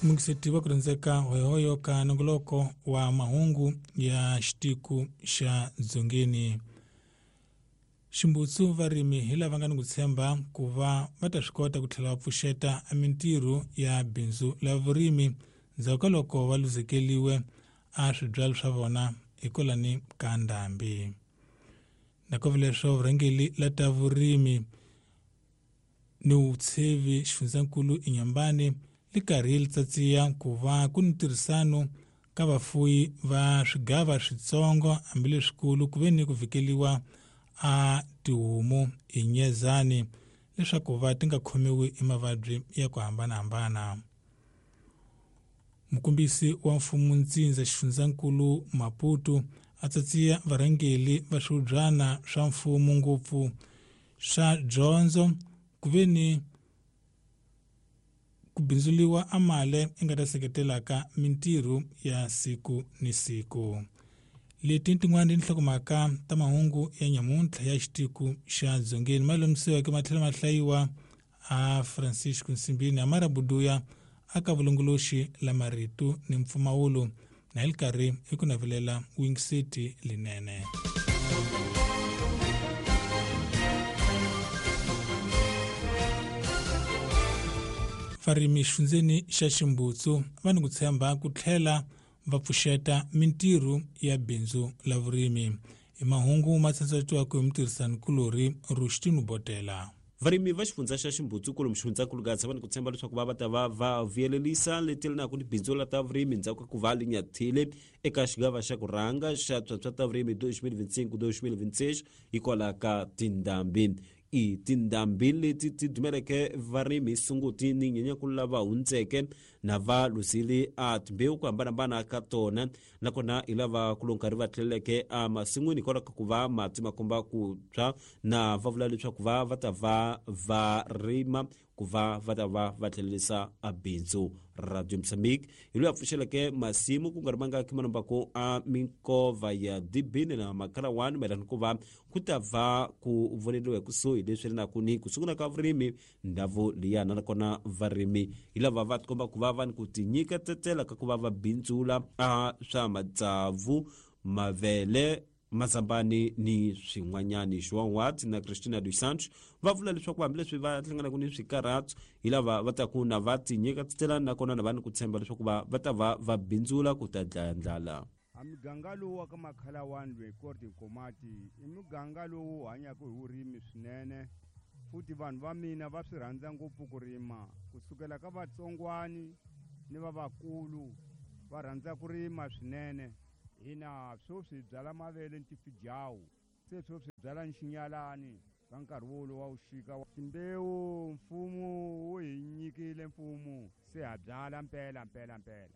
Mungiseti wa ku rhandzeka hoyohoyo ka nongoloko wa mahungu ya xitiku xa Dzongeni. Ximbutsu varimi hi lava nga ni ku tshemba ku va va ta swi kota ku tlhela va pfuxeta mintirho ya bindzu la vurimi ndzhaku ka loko va luzekeliwe a swibyalo swa vona hikwalani ka ndhambi. Nakove leswo vurhangeli la ta vurimi ni vutshevi xifundzankulu eNyambani li karhi li tsatsiya ku va ku ni ntirhisano ka vafuyi va swigava switsongo hambileswikulu ku ve ni ku vhikeliwa a tihomu hi nyezani leswaku va ti nga khomiwi hi mavabyi ya ku hambanahambana. Mukombisi wa mfumo ntsindza xifundzankulu Maputo a tsatsiya varhangeli va swihubyana swa mfumo ngopfu swa dyondzo ku ve ni ku bindzuliwa amale i nga ta seketelaka mintirho ya siku ni siku. Leti tin'wana tinhlokomhaka ta mahungu ya nyamuntlha ya xitiku xa Dzongeni ma lomisiweke ma tlhela ma hlayiwa a Francisco Nsimbini Amara Buduya aka vulongoloxi la marito ni mpfumawulo na hi li karhi hi ku navelela wingiseti linene. Varimi xifundzeni xa Ximbutsu va ni ku tshemba ku tlhela va pfuxeta mintirho ya bindzu la vurimi. Hi mahungu ma tsandzatiwaka hi mutirhisani-kulorhi Rushtinu Botela. Varimi va xifundza xa Ximbutsu kwalomu xifundzankulu Gaza va ni ku tshemba leswaku va va ta va va vuyelelisa leti ni bindzu la ta vurimi ndzhaku ka ku va li nyathile eka xigava xa ku rhanga xa swa ta vurimi 2025-2026 hikwalaho ka tindhambi. I tindhambi leti ti dumeleke varimi Sunguti ni Nyenyankulu lava hundzeke na va luzile a timbewu ku hambanahambana ka tona, nakona hi lava ku lo nkarhi va tlheleleke emasin'wini hikwalaho ka ku va mati ma komba ku tshwa, na va vula leswaku va va ta va va rima ku va va ta va va tlhelerisa a bindzu. Radio Mozambique hi loyi a pfuxeleke masimu ku nga ri mangaki manombako a minkova ya Dibini na Makhalawani mayelana ku va ku ta va ku voneriwa hi kusuhi leswi ri naku ni ku sungula ka vurimi ndhawu liyana, nakona varimi hi lava va tikomba ku va va ni ku tinyiketetela ka ku va va bindzula a swa matsavu, mavele, mazambani ni swin'wanyani. João Watt na Cristina dos Santos va vula leswaku hambileswi va hlanganaka ni swikarhato hi lava va taku na va tinyiketetela, nakona na va ni ku tshemba leswaku va va ta va va bindzula ku ta dlaya ndlala. A muganga lowu wa ka Makhalawani loyi Korte Nkomati i muganga lowu hanyaka hi vurimi swinene, futhi vanhu va mina va swi rhandza ngopfu ku rima, kusukela ka vatsongwani ni va vakulu va rhandza ku rima swinene. Hina sweswi hi byala mavele ni tifijawu, se sweswi hi byala ni xinyalani ka nkarhi wolowo wa vuxika. Timbewu mfumo wu hi nyikile mfumo, se ha byala mpela mpela mpela.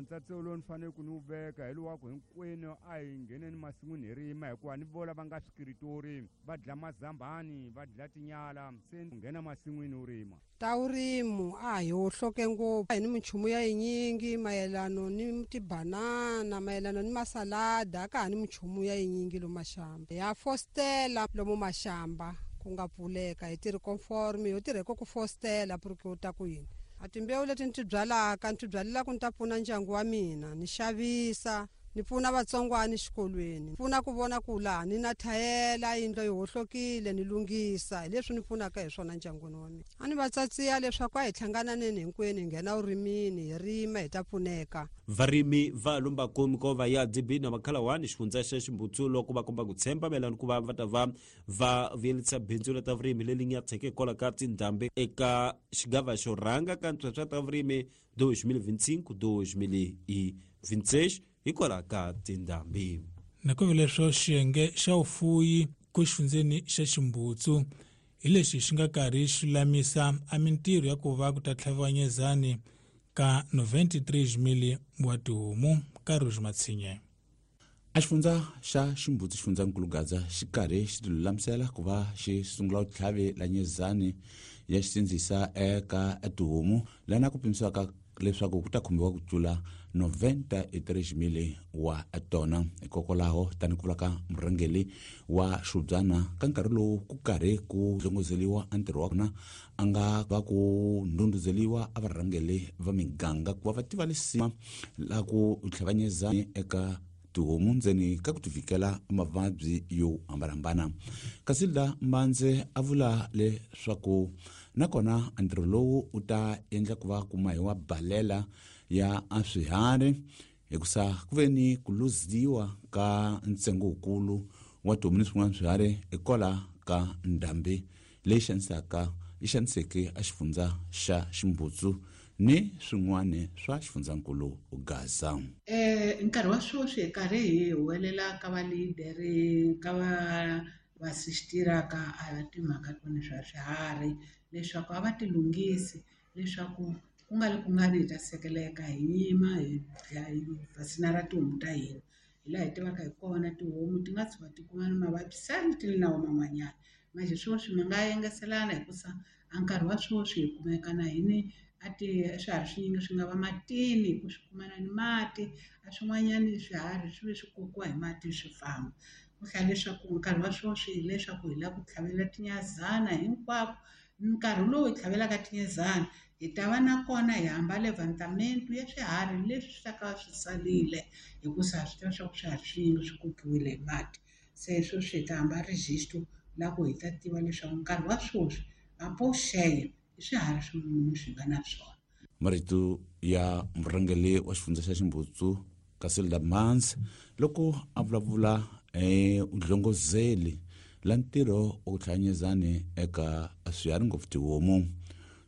Ntsatso lowu ni fanele ku ni wu veka hi lowu wa ku hinkwenu a hi ngheneni masin'wini hi rima, hikuva ni vola va nga swikiritori va dla mazambani va dla tinyala, se nghena masin'wini u rima. Ta vurimu a hi hohloke ngopfu, hi ni minchumu ya yinyingi mayelano ni tibanana, mayelano ni masalada, a ka ha ni minchumu ya yinyingi lomu maxamba. Ya fostela lomu maxamba ku nga pfuleka, hi tirhi conforme, ho tirha ku fostela porque u ta ku yini. A timbewu leti ni ti byalaka ni ti byalela ku ni ta pfuna ndyangu wa mina, ni xavisa, ni pfuna vatsongwana exikolweni, pfuna ku vona ku laha ni na thayela yindlu yi hohlokile ni lunghisa, hi leswi ni pfunaka hi swona ndyangwini wa mina. A ni va tsatsiya leswaku a hi hlangananeni hinkwenu hi nghena vurimini hi rima hi ta pfuneka. Varimi va lombako minkova ya DB na Makhalawani xifundza xa Ximbutsu loko va komba ku tshemba mayelana ku va va ta va va vuyelisa bindzu ra ta vurimi leri nyatheke hikwalaho ka tindhambi eka xigava xo rhanga ka ntswetswa ta vurimi 2025-2026 hikwalaho ka tindhambi. Nakambe leswo xiyenge xa vufuyi ku xifundzeni xa Ximbutsu hi lexi xi nga karhi xi lulamisa a mintirho ya ku va ku ta tlhaviwa nyezani ka 93 wa tihomu ka Rouge Matshinye. A xifundza xa Ximbutsu xifundzankulu Gaza xi karhi xi tilulamisela ku va xi sungula vutlhavi la nyezani ya xisindzisa eka tihomu lana ku pimisiwaka leswaku ku ta khumbiwa ku tlula 93,000 wa tona. Hikokwalaho tani ku vula ka murhangeri wa Xubyana ka nkarhi lowu ku karhi ku dlongozeliwa a ntirho wa kona a nga va ku ndhundhuzeliwa a varhangeri va miganga ku va va tiva lisima la ku tlhavanyeza eka tihomu ndzeni ka ku tivikela mavabyi yo hambanahambana. Kasi la Mbandze a vula leswaku nakona ntirho lowu u ta endla ku va ku mahiwa balela ya swiharhi hikusa ku ve ni ku luziwa ka ntsengo wukulu wa tihomu ni swin'wana swiharhi hikwalaho ka ndhambi leyi xanisaka yi xaniseke a xifundza xa Ximbutsu ni swin'wana swa xifundzankulu Gaza. Nkarhi wa sweswi hi karhi hi huwelela ka valideri ka va vasistiraka a timhaka tona swa swiharhi leswaku a va ti lunghisi leswaku ku nga ri ku nga ri hi ta sekeleka hi yima hi dlaya hi vasinara tihomu ta hina. Hi laha hi tivaka hi kona tihomu ti nga tshuka ti kuma ni mavabyi sani ti ri na wona man'wanyana. Manjhe sweswi mi nga engeselana hikusa a nkarhi wa sweswi hi kumeka na hini a ti swiharhi swinyingi swi nga va matini ku swi kumana ni mati a swin'wanyani swiharhi swi ve swi kokiwa hi mati swi famba. Ku hlaya leswaku nkarhi wa sweswi hileswaku hi lava ku tlhavela tinyazana hinkwako. Nkarhi lowu hi tlhavelaka tinyezana hi ta va na kona hi hamba levantamento ya swiharhi leswi swi ta ka swi salile hikusa ha swi tiva swa ku swiharhi swinyingi swi kokiwile hi mati. Se sweswi hi ta hamba register la ku hi ta tiva leswaku nkarhi wa sweswi mapoxeya i swiharhi swin'wana swi nga na swona. Marito ya murhangeri wa xifundza xa Ximbutsu Casilda Mans loko a vulavula udlongozeli la ntirho wa ku hlanganyezani eka swiharhi ngopfu tihomu.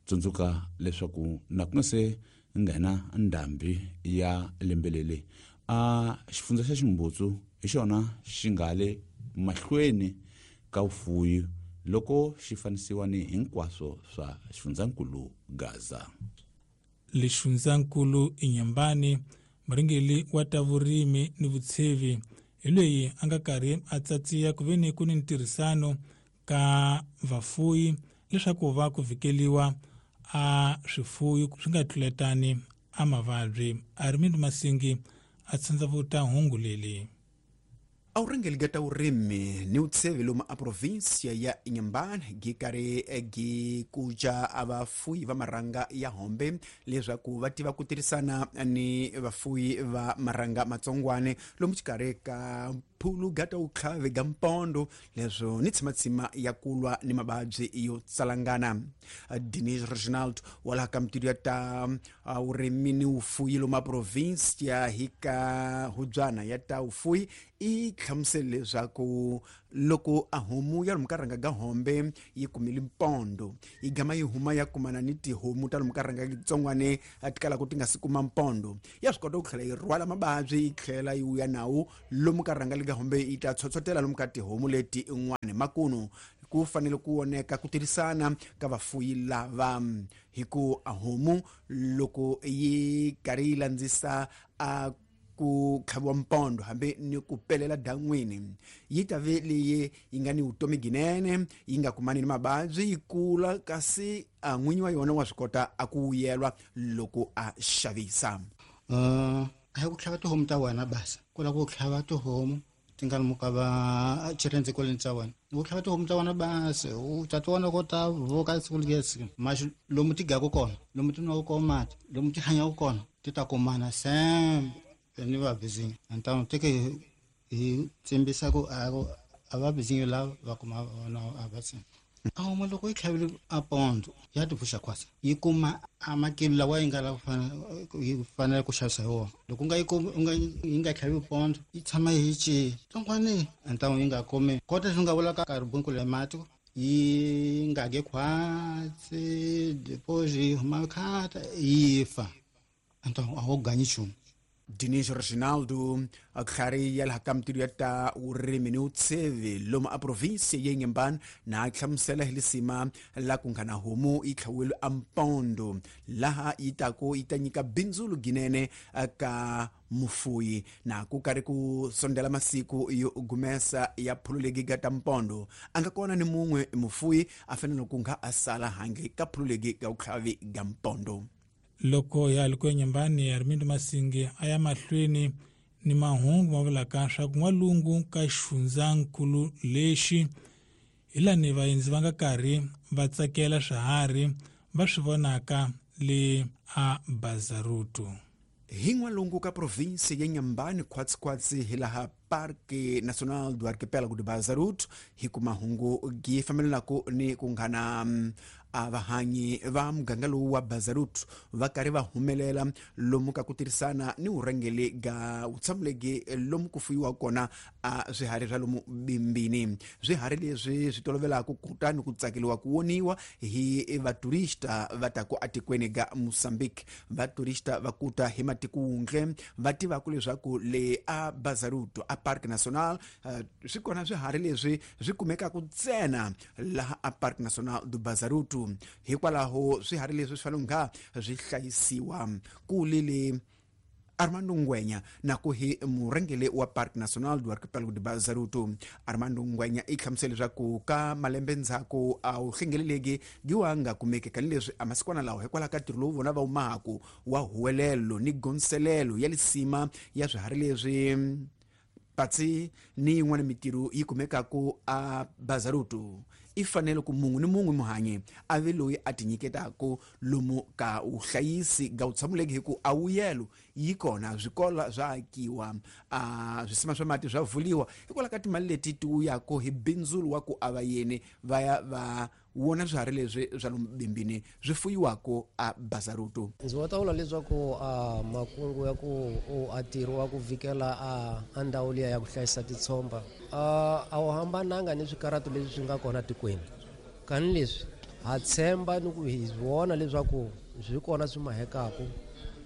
Tsundzuka leswaku na ku nga se nghena ndhambi ya lembe leri a xifundza xa Ximbutsu hi xona xi nga le mahlweni ka vufuwi loko xi fanisiwa ni hinkwaswo swa xifundzankulu Gaza. Lexifundzankulu Inhambane murhangeri wa ta vurimi ni vutshevi hi loyi a nga karhi a tsatsiya ku ve ni ku ni ntirhisano ka vafuyi leswaku va ku vhikeliwa a swifuyi swi nga tluletani a mavabyi. Armind Masingi a tsandzavuta hungu leli. A vurhangeri bya ta vurimi ni vutshevi lomu a provinsia ya Inhambane gi karhi gi kuca a vafuyi va marhanga ya hombe leswaku va tiva ku tirhisana ni vafuyi va marhanga matsongwane lomu xikarhi ka phulu ga ta vutlhavi ga mpondo leswo ni tshimatsima ya kulwa ni mavabyi yo tsalangana. Denis Reginald wa laha ka mitilu ya ta vurimi ni vufuyi lomu a provinsia hi ka hubyana ya ta vufuyi i hlamusele leswaku loko a homu ya lomu ka rhanga ga hombe yi kumile mpondo yi gama yi huma ya kumana ni tihomu ta lomu ka rhanga tsongwane ti kalaka ti nga si kuma mpondo ya swi kota ku tlhela yi rhwala mavabyi yi tlhela yi vuya nawu lomu ka rhanga lika hombe yi ta tshotshotela lomu ka tihomu leti n'wana. Makunu ku fanele ku voneka ku tirhisana ka vafuyi lava hi ku a homu loko yi karhi yi landzisa a ku tlhaviwa mpondo hambi ni ku pelela dan'wini yi ta ve leyi yi nga ni vutomi ginene yi nga kumani ni mavabyi yi kula kasi a n'winyi wa yona wa swi kota a ku vuyelwa loko a xavisa. A hi ku tlhava tihomu ta wena basa ku lava ku tlhava tihomu ti nga lomu ka va xirendzikolweni xa wena ku tlhava tihomu ta wena basi u ta ti vona ko ta voka siku lesi maxi lomu ti gaku kona lomu ti nwaka kona mati lomu ti hanyaka kona ti ta kumana sembe ni va bizinyo antano teke hi tsimbisa ku a va bizinyo lava va kuma vona a va tsini. A homu loko yi tlhavile a pondo ya ti pfuxa khwasa yi kuma a makilo lawa yi nga lava yi fanele ku xavisa hi wona. Loko u nga yi kumi u nga yi nga tlhavi pondo yi tshama yi ci tsongwani antano yi nga kumi kota swi nga vula ka ribunku le mati yi nga ge khwatsi depois yi huma khata yi fa antano a wu ganyi nchumu. Dinis Reginaldo tlhari ya laha ka mitilu ya ta vurimi ni vutshevi lomu a provinsia ya Inhambane na hlamusela hi lisima la ku nga na homu yi tlhaviwile a mpondo laha yi taku yi ta nyika bindzu ginene ka mufuyi na ku karhi ku sondela masiku yo gumesa ya phululegi ga ta mpondo a nga kona ni mun'we mufuyi a fanele ku nga a sala handle ka phululegi ga vutlhavi ga mpondo. Loko ya ri ku eNyembani, Armindo Masingi a ya mahlweni ni mahungu ma vulaka swa ku n'walungu ka xifundzankulu lexi hi lani vaendzi va nga karhi va tsakela swiharhi va swi vonaka le a Bazaruto. Hi n'walungu ka provinsi ya Nyambani khwatsikhwatsi hi laha Parque Nacional do Arquipélago de Bazaruto hi ku mahungu gi fambelanaku ni ku nghana a vahanyi va muganga lowu wa Bazaruto va karhi va humelela lomu ka ku tirhisana ni vurhangeri ga vutshamulegi lomu ku fuyiwa kona a swiharhi swa lomu bimbini. Swiharhi leswi swi tolovelaka kutani ku tsakeliwa ku voniwa hi vaturista va taku atikweni ga Mozambique. Vaturista va kuta hi matiko wundle va tivaka leswaku le a Bazaruto a Parque Nacional swi kona swiharhi leswi swi kumekaka ntsena laha a Parque Nacional do Bazaruto. Hikwalaho swiharhi leswi swi fanele nga swi hlayisiwa. Ku lele Armando Ngwenya na ku hi murhangeri wa Parque Nacional do Arquipélago de Bazaruto. Armando Ngwenya i hlamusele leswaku ka malembe ndzhaku a wu hlengeleleki giwa nga kumeki tanihileswi a masikwana lawa hikwalaho ka ntirho lowu vona va wu mahaku wa huwelelo ni gondzelelo ya lisima ya swiharhi leswi patsi ni yin'wana mitirho yi kumekaku a Bazaruto. I fanele ku munhu ni mun'we muhanyi a ve loyi a tinyiketaka lomu ka vuhlayisi ga vutshamuleki hi ku a wuyelo yi kona, swikolo swa akiwa, a swisima swa mati swa vuliwa hikwalaho ka timali leti ti wuyaka hi bindzulo wa ku a vayeni va ya va wona swiharhi leswi swa lomu bimbini swi fuyiwaka a Bazaruto. Ndzi nga ta vula leswaku a makungu ya ku a ntirho wa ku vhikela a ndhawu liya ya ku hlayisa titshomba a wu hambananga ni swikarhato leswi swi nga kona tikweni. Kani leswi ha tshemba ni ku hi vona leswaku swi kona swi mahekaku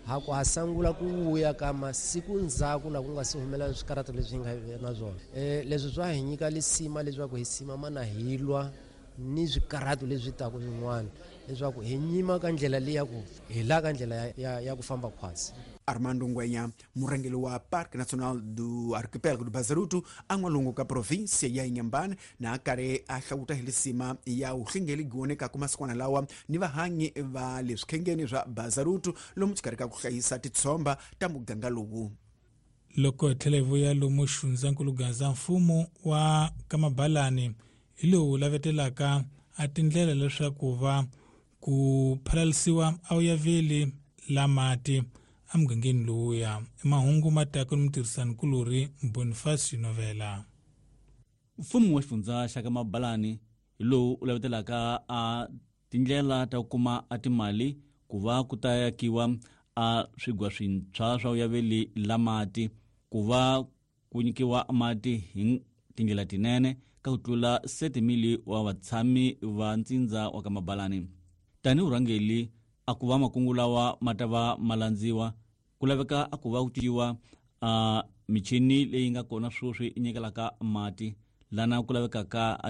ha ku ha sangula ku vuya ka masiku ndzhaku na ku nga si humelela swikarhato leswi hi nga na swona. Leswi swa hi nyika lisima leswaku hi simama na hi lwa ni swikarhato leswi taka swin'wana leswaku hi nyima ka ndlela leyi ya ku hi la ka ndlela ya ku famba khwatsi. Armando Ngwenya, murhangeri wa Parque Nacional do Arquipélago do Bazaruto a n'walungu ka provinsia ya Inhambane, na a karhi a hlawuta hi lisima ya vuhlengeli gi vonekaka masikwana lawa ni vahanyi va le swikhengeni swa Bazaruto lomu xikarhi ka ku hlayisa titshomba ta muganga lowu. Loko hi tlhela hi vuya lomu xifundzankulu Gaza, mfumo wa Kamabalani hi lowu lavetelaka a tindlela leswaku va ku phalalisiwa a wu yaveli la mati emugangeni lowuya. Mahungu ma taka ni mutirhisanikulorhi Boniface Novela. Mfumo wa xifundza xa Kamabalani hi lowu u lavetelaka a tindlela ta ku kuma a timali ku va ku ta yakiwa a swigwa swintshwa swa vuyaveli la mati ku va ku nyikiwa mati hi tindlela tinene ka ku tlula 7,000 wa vatshami va ntsindza wa Kamabalani. Tanihi vurhangeri a ku va makungu lawa ma ta va ma landziwa ku laveka a ku va ku cinciwa a michini leyi nga kona sweswi yi nyikelaka mati lana ku lavekaka a